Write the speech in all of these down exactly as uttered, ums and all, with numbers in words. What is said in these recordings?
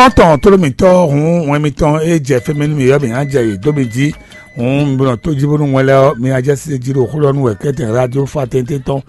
Tɔntɔn tlóló mǐtɔn hǔn wɛn mitɔn e jɛ fɛnmɛ nú mǐ ɔ́, mǐ ná jɛ yě dó mi jí. Hǔn mi nɔ tó jí bónú wɛn lɛ́ɛ ɔ́, mi ná jɛ sí jí ɖo xó ɖɔ nú wɛ kɛ́tɛn radio fá tɛntɛn tɔn.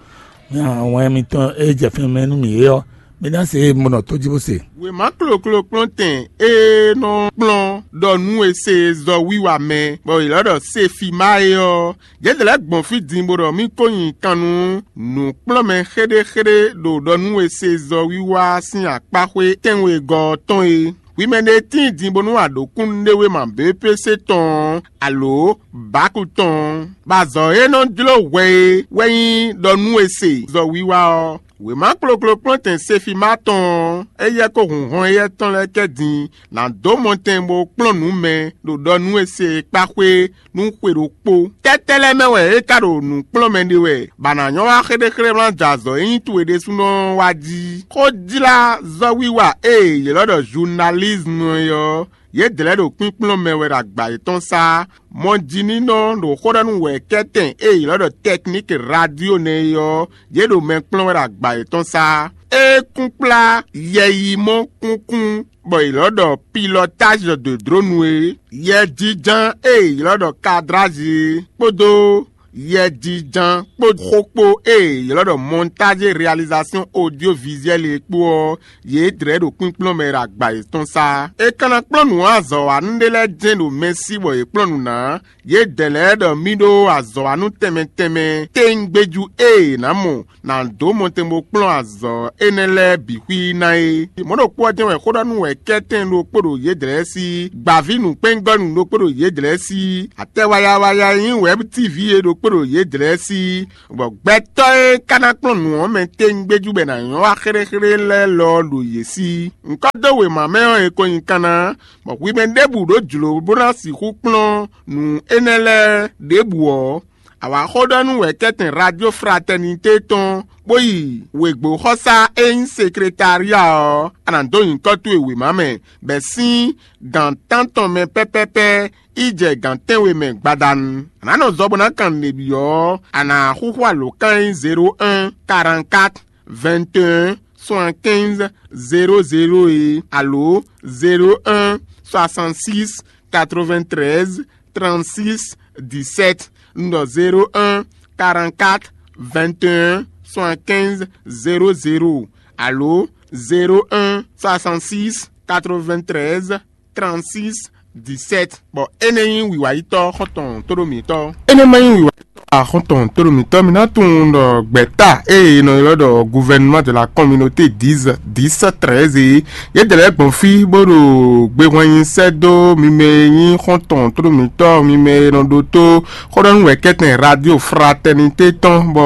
Wɛn mitɔn e jɛ fɛnmɛ nú mǐ é ɔ́, mi ná se mi nɔ tó jí bó se. Wěma kloklo kplɔ́ntɛn e nɔ kplɔ́n ɖɔ nú e se zɔ wiwa mɛ, bɔ è lɔ́ ɖɔ Sefima é ɔ́, yě lɛ́ gbɔn fí din bó ɖɔ mì ko nyi kan nú nǔkplɔ́nmɛ xéɖéxéɖé ɖo ɖɔ nú e se zɔ wiwa sín akpáxwé tɛ́nwegɔ́ ɔ́ tɔn é. Hwi mɛ ɖé tíin din bónú a ɖǒ kúnnuɖewéma B P C tɔn ɔ́, alo Baku tɔn ɔ́, bɔ azɔ̌ e nɔ jló hwɛ é wɛ nyí ɖɔ nú e se zɔ wiwa ɔ́. Wěma kloklo kplɔ́ntɛn Sefima tɔn ɔ́, éyɛ́ kó hun hɔn éyɛ́ tɔn lɛ́ɛ kɛ din ná dó mɔtɛn bó kplɔ́n nǔ mɛ ɖo ɖɔ nú e se kpáxwé nú xwe ɖokpó. Tɛ́tɛ́ lɛ́ɛ mɛ wɛ é ka ɖo nǔ kplɔ́n mɛ ɖe wɛ, bɔ a nǎ nyɔ́ wá xéɖéxéɖé wlán jɛ azɔ̌ e nyí towe ɖésúnɔ ɔ́ wá jí? Xójlázɔ́wiwa e è ylɔ́ ɖɔ journalisme é ɔ́, yě dlɛ̌ ɖo kpínkplɔ́n mɛ wɛ ɖo agba yětɔn sá. Mɔjínínɔ ɖo xó ɖɔ nú wɛ̌kɛ́tɛn e è ylɔ́ ɖɔ technique radio nɛ́ é ɔ́, yě ɖo mɛ kplɔ́n wɛ ɖo agba yětɔn sá. É kún kplá yɛyimɔ kúnkún bɔ è ylɔ́ ɖɔ pilotage de drone é, yɛjínján e è ylɔ́ ɖɔ cadrage é, kpódó yɛjínján kpó xó kpó e è ylɔ́ ɖɔ montage et réalisation audiovisuelle é kpó ɔ́, yě dlɛ̌ ɖo kpínkplɔ́n mɛ ɖo agba yětɔn sá. È ka ná kplɔ́n nǔ azɔ̌wanú ɖé lɛ́ɛ jɛ́n ɖo mɛ sí bɔ yě kplɔ́n nǔ ná. Yědɛɛ lɛ́ɛ ɖɔ mì ɖó azɔ̌wanú tɛnmɛ tɛnmɛ téŋgbéjú e è nǎ mɔ nǎ dó mɔtɛn bó kplɔ́n azɔ̌ énɛ́ lɛ́ɛ bǐ xwí ná é. Mɔ̌ ɖokpó ɔ́ jɛ́n wɛ xó ɖɔ nú wɛ̌kɛ́tɛn ɖokpó ɖo yědɛɛ sí, gbǎví nǔkpɛ́ngɔ́nú ɖokpó ɖo yědɛɛ sí, atɛ wayawaya e nyí wɛ̌b tívi é ɖokpó ɖo yědɛɛ sí, bɔ gbɛtɔ́ e ka ná kplɔ́n nǔ ɔ́ mɛ téŋgbéjú bɔ è nǎ nyɔ́ wá xéɖéxéɖé lɛ́ɛ lɔ ɔ́ ɖo yě sí. Ŋkɔ́ dó wěma mɛ ɔ́, è ko nyi kanna, bɔ hwi mɛ ɖěbǔ ɖó jlǒ bó ná sixú kplɔ́n nǔ énɛ́ lɛ́ɛ ɖěbǔ ɔ́, a wǎ xó ɖɔ nú wɛ̌kɛ́tɛn Radio Fraternité tɔn, bó yi wěgbóxɔsá e nyí sekretária ɔ́, a nǎ dó nyǐkɔ towe wěma mɛ, bɔ è sín gǎn tántɔn mɛ pɛ́pɛ́pɛ́ yi jɛ gǎn tɛ́nwe mɛ gbadanu. A nǎ nɔ zɔ bó ná kan nǔɖé byɔ́ ɔ́, a nǎ xúxú alǒkan e nyí zéro un, quarante-quatre, vingt et un, soixante-quinze, zéro zéro é, alo zéro un, soixante-six, quatre-vingt-treize, trente-six, dix-sept. Un ɖɔ zéro un, quarante-quatre, vingt et un, soixante-quinze, zéro zéro, alo zéro un, soixante-six, quatre-vingt-treize, trente-six, dix-sept. Bɔ énɛ́ nyí wǐwáyítɔ́ xɔ́ntɔn tóɖó mǐtɔn. Énɛ́ ma nyí wǐwáyítɔ́ xɔ́ntɔn tóɖó mǐtɔn, mi ná tunwun ɖɔ gbɛ̌ta e è nɔ ylɔ́ ɖɔ gouvernement de la communauté dix, dix, treize é, yě dɛ lɛ́ɛ gbɔn fí bó ɖo gbehwan nyi sɛ́ dó mi mɛ e nyí xɔ́ntɔn tóɖó mǐtɔn, mi mɛ e nɔ ɖótó xó ɖɔ nú wɛ̌kɛ́tɛn Radio Fraternité tɔn, bɔ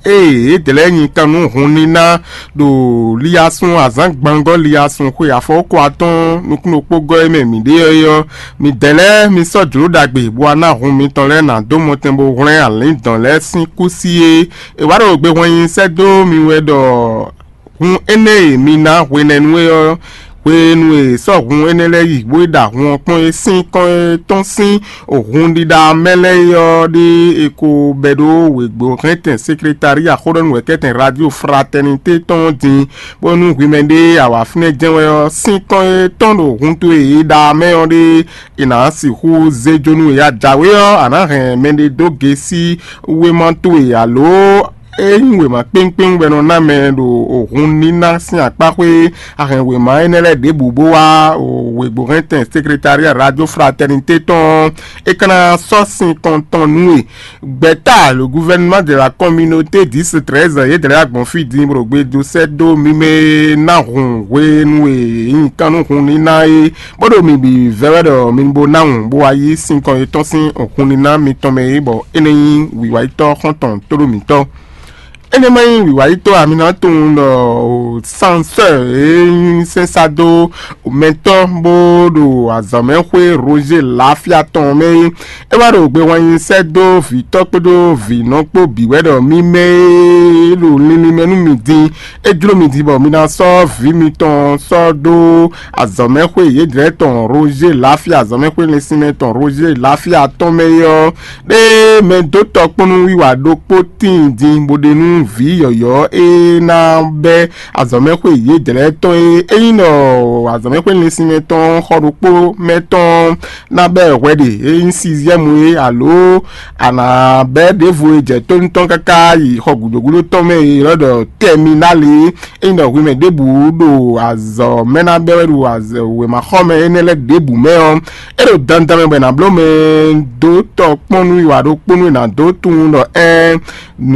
ée yě dɛ lɛ́ɛ nyi kan nú hun níná ɖo liyasun azǎn gbangɔ́ liyasun xwe afɔwókɔ atɔ́ɔ́n nukúnnukpógɔ́ e mɛ mǐ ɖe ɔ́ é ɔ́, midɛɛ lɛ́ɛ mi sɔ́ jlǒ ɖagbe bó wá ná hun mitɔn lɛ́ɛ ná dó mɔtɛn bó hwlɛ́n alǐndɔn lɛ́ɛ sín kúsi é. È wǎ ɖo gbehwan nyi sɛ́ dó mi wɛ ɖɔ hun énɛ́ e mi ná hwenɛ́nu é ɔ́, hwenu e è sɔ́ hun énɛ́ lɛ́ɛ yi bó yi ɖa hun ɔ́ kpɔ́n é sín kɔn e tɔ́n sín hun ɖiɖa mɛ lɛ́ɛ é ɔ́ ɖé è ko bɛ́ ɖó wěgbó hɛntɛn sekretári axóɖɔ́nú wɛ̌kɛ́tɛn Radio Fraternité tɔn ɔ́ din, bónú hwi mɛ ɖé a wǎ fínɛ́ jɛ́n wɛ ɔ́, sín kɔn e tɔ́n ɖo hun towe e è ɖa mɛ ɔ́ ɖé è nǎ sixú zé jó nú we. A jǎwe ɔ́, a nǎ hɛn mɛɖé dó gesí wéma towe alo é nyí wěma kpéŋkpéŋ wɛ nɔ ná mɛ ɖo hun níná sín akpáxwé. A hɛn wěma énɛ́ lɛ́ɛ ɖěbǔ bó wá wěgbó hɛntɛn sekretária Radio Fraternité tɔn, é ka ná sɔ́ sin kɔn tɔn nú we. Gbɛ̌ta le gouvernement de la communauté dix treize yě dlɛ́ agbɔ̌n fí din bó ɖo gbe dó sɛ́ dó mi mɛ e ná hun hwenu e nyí kan nú hun níná é, bó ɖo mi bǐ vɛ́ wɛ ɖɔ mi bo ná hun bó wá yí sin kɔn yětɔn sín hun níná mitɔn mɛ é, bɔ é nɛ́ nyí wǐwáyítɔ́ xɔ́ntɔn tóɖó mǐtɔn. Énɛ́ ma nyí wǐwáyítɔ́ a mi ná tunwun ɖɔ sansɔ́ e nyí sɛ́nsá dó mɛtɔ́ bó ɖo azɔ̌mɛxwé Roger Lafia tɔn mɛ é. É wá ɖo gbehwan nyi sɛ́ dó vǐtɔ́ kpódó vǐnɔ kpó bǐ wɛ ɖɔ mi mɛ e ɖo linlin mɛ nú mi din, é jló mi din bɔ mi ná sɔ́ vǐ mitɔn sɔ́ dó azɔ̌mɛxwé yědɛɛ tɔn Roger Lafia, azɔ̌mɛxwé linsinmɛ tɔn Roger Lafia tɔn mɛ é ɔ́, ɖé mɛ dó tɔkpɔ́nú wiwa ɖokpó tíin din bó ɖe nú vǐ yɔ̌yɔ́ e ná bɛ́ azɔ̌mɛxwé yědɛɛ tɔn e é nyí ɖɔ azɔ̌mɛxwé linsinmɛ tɔn xɔ ɖokpó mɛ tɔn ná bɛ́ hwɛ ɖe e nyí sixième é, alo a nǎ bɛ́ ɖěvo e jɛ tónú tɔn káká yi xɔ gǔdo gúdo tɔn mɛ e è nɔ ɖɔ tɛminál é. É nyí ɖɔ hwi mɛ ɖěbǔ ɖo azɔ̌ mɛ ná bɛ́ wɛ ɖo wěmaxɔmɛ énɛ́ lɛ́ɛ ɖěbǔ mɛ ɔ́, é ɖo dandan mɛ bɔ è nǎ bló mɛ dó tɔkpɔ́n nú wiwa ɖokpónú e nǎ dó tunwun ɖɔ ɛ́n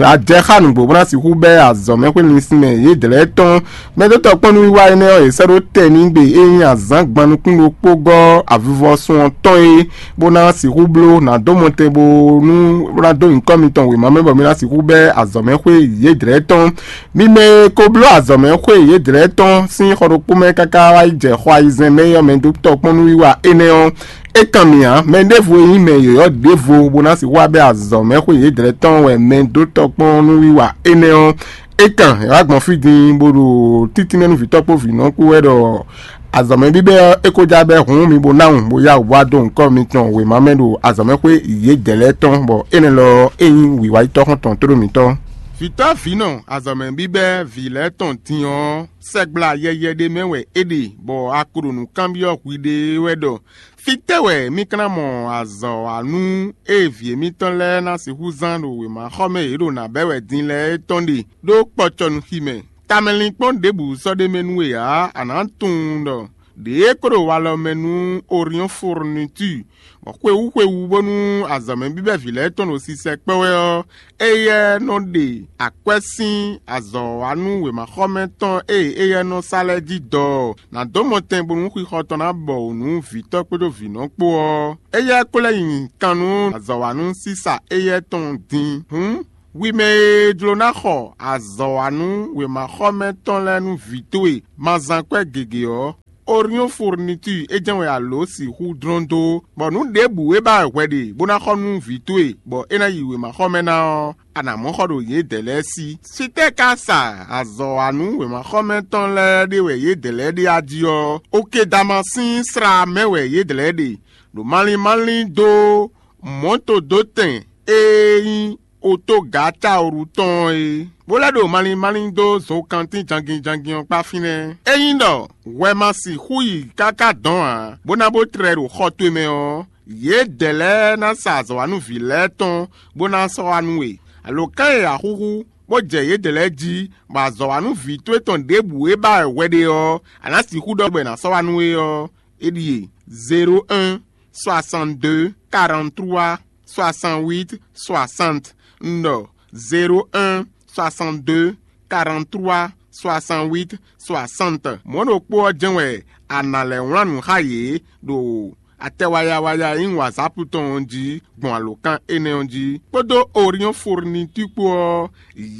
a jɛ xá nǔgbó bó ná sixú bɛ́ azɔ̌ mɛ xwé linsin mɛ yědɛɛ tɔn. Mɛ dó tɔkpɔ́n nú wiwa énɛ́ ɔ́, è sɛ́ ɖó tɛn n'i gbe é nyí azǎn gban nukún ɖokpó gɔ́ avivɔsun ɔ́ tɔn é, bó ná sixú bló ná dó mɔtɛn bó nú bó ná dó nyǐkɔ mitɔn wěma mɛ bɔ mi ná sixú bɛ́ azɔ̌ mɛ xwé yědɛɛ tɔn. Mi mɛ e ko bló azɔ̌ mɛ xwé yědɛɛ tɔn sín xɔ ɖokpó mɛ káká wá yi jɛ xɔ ayizɛ́n mɛ ɔ́ mɛ dó tɔkpɔ́n nú wiwa énɛ́ ɔ́, é kan mì ǎ. Mɛ ɖěvo e nyí mɛ yɔ̌yɔ́ ɖěvo bó ná sixú wá bɛ́ azɔ̌ mɛ xwé yědɛɛ tɔn wɛ mɛ dó tɔkpɔ́n nú wiwa énɛ́ ɔ́, é kan è wá gbɔn fí din bó ɖo títínmɛ nú vǐtɔ́ kpó vǐnɔ kpó wɛ ɖɔ azɔ̌ mɛ bíbɛ́ ɔ́, é ko já bɛ́ hǔn mi bó ná wun bó yá wǔ wá dó nyǐkɔ mitɔn wěma mɛ ɖo azɔ̌ mɛ xwé yědɛɛ tɔn, bɔ énɛ́ lɔ é nyí wǐwáyítɔ́ xɔ́ntɔn tóɖó mitɔn. Vǐtɔ́ vǐnɔ azɔ̌ mɛ bíbɛ́ vǐ lɛ́ɛ tɔn din ɔ́, sɛgbla yɛyɛ ɖé mɛ wɛ é ɖe, bɔ a ko ɖo nǔ kanbyɔ́ hwiɖée wɛ ɖɔ: Fítɛ́ wɛ mì ka ná mɔ azɔ̌ wa nú ée vǐ émítɔn lɛ́ɛ ná sixú zán ɖo wěmaxɔmɛ e yě ɖo nǎ bɛ́ wɛ din lɛ́ɛ é tɔn ɖe ɖó kpɔcɔnuxi mɛ? Tamɛlinkpɔ́n ɖěbǔ sɔ́ ɖ'é mɛ nú we ǎ; a nǎ tunwun ɖɔ ɖěe kó ɖo walɔ mɛ nú Oriɔ́n Furnitúr, bɔ xwewú xwewú bónú azɔ̌ mɛ bíbɛ́ vǐ lɛ́ɛ tɔn ɖo sisɛ kpɛ́ wɛ ɔ́, éyɛ́ nɔ ɖe akwɛ́ sín azɔ̌ wa nú wěmaxɔmɛ tɔn e éyɛ́ nɔ sa lɛ́ɛ jí dɔ ɔ́, nǎ dó mɔtɛn bónú xixɔ tɔn ná bɔ wǔ nú vǐtɔ́ kpódó vǐnɔ kpó ɔ́, éyɛ́ ko lɛ́ nyi kan nú azɔ̌ wa nú sísa éyɛ́ tɔn din. Hǔn, hwi mɛ e jló ná xɔ azɔ̌ wa nú wěmaxɔmɛ tɔn lɛ́ɛ nú vǐ towe ma zán kwɛ́ gěgé ɔ́, Oriɔ́n Furnitúr é jɛ́n wɛ a lǒ sixú dlɔ́n dó, bɔ nǔ ɖěbǔ e ba wɛ hwɛ ɖe bó ná xɔ nú vǐ towe, bɔ é ná yi wěmaxɔmɛ ná ɔ́, a nǎ mɔ xɔ ɖo yědɛɛ lɛ́ɛ sí. Fítɛ́ ka sa azɔ̌ wa nú wěmaxɔmɛ tɔn lɛ́ɛ ɖe wɛ yědɛɛ lɛ́ɛ ɖe a jí ɔ́? Okedama sín sla mɛ wɛ yědɛɛ ɖe, ɖo malín malín dó mɔ̌todótɛn e nyí otógǎ Cawlu tɔn ɔ́ é, bó lɛ́ ɖo malín malín dó zokantín jangin jangin ɔ́ kpá fínɛ́. Ényí ɖɔ hwɛ ma sixú yi káká dɔ̌n ǎ, bó ná bó tlɛ ɖo xɔ towe mɛ ɔ́, yědɛɛ lɛ́ɛ ná sa azɔ̌wanúvǐ lɛ́ɛ tɔn bó ná sɔ́ wá nú we. Alǒkan e a xúxú, bó jɛ yědɛɛ lɛ́ɛ jí, bɔ azɔ̌wanúvǐ towe tɔn ɖěbǔ e ba wɛ hwɛ ɖe ɔ́, a nǎ sixú ɖɔ bɔ è nǎ sɔ́ wá nú we ɔ́, é ɖíe: zéro un, soixante-deux, quarante-trois, soixante-huit, soixante. Un ɖɔ: zéro un, soixante-deux, quarante-trois, soixante-huit, soixante. Mɔ̌ ɖokpó ɔ́ jɛ́n wɛ a nǎ lɛ́ wlán nǔ xá yě ɖo atɛ wayawaya e nyí WhatsApp tɔn ɔ́ jí gbɔn alǒkan énɛ́ ɔ́ jí, kpódó Oriɔ́n Furnitúr kpó ɔ́,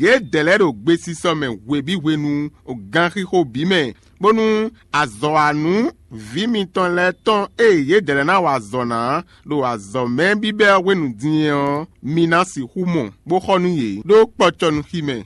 yědɛɛ lɛ́ɛ ɖo gbesisɔ mɛ hwebǐ hwenu, ganxixo bǐ mɛ, bónú azɔ̌wanú vǐ mitɔn lɛ́ɛ tɔn e yědɛɛ lɛ́ɛ ná wa azɔ̌ ná ɖo azɔ̌ mɛ bíbɛ́ ɔ́ hwenu din é ɔ́, mi ná sixú mɔ, bó xɔ nú yě ɖó kpɔcɔnuxi mɛ.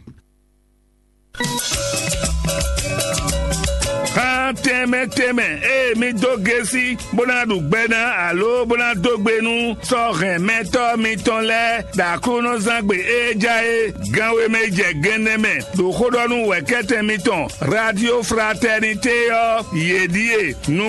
Xán tɛnmɛ tɛnmɛ e mi dó gésí bó ná ɖu gbɛ ná alo bó ná dó gbe nú sɔ́ hɛn mɛtɔ́ mitɔn lɛ́ɛ ɖo Aklúnɔzángbe e ja é gánwé mɛ jɛ gɛnnɛ mɛ ɖo xó ɖɔ nú wɛ̌kɛ́tɛn mitɔn Radio Fraternité ɔ́, yě ɖíe: nú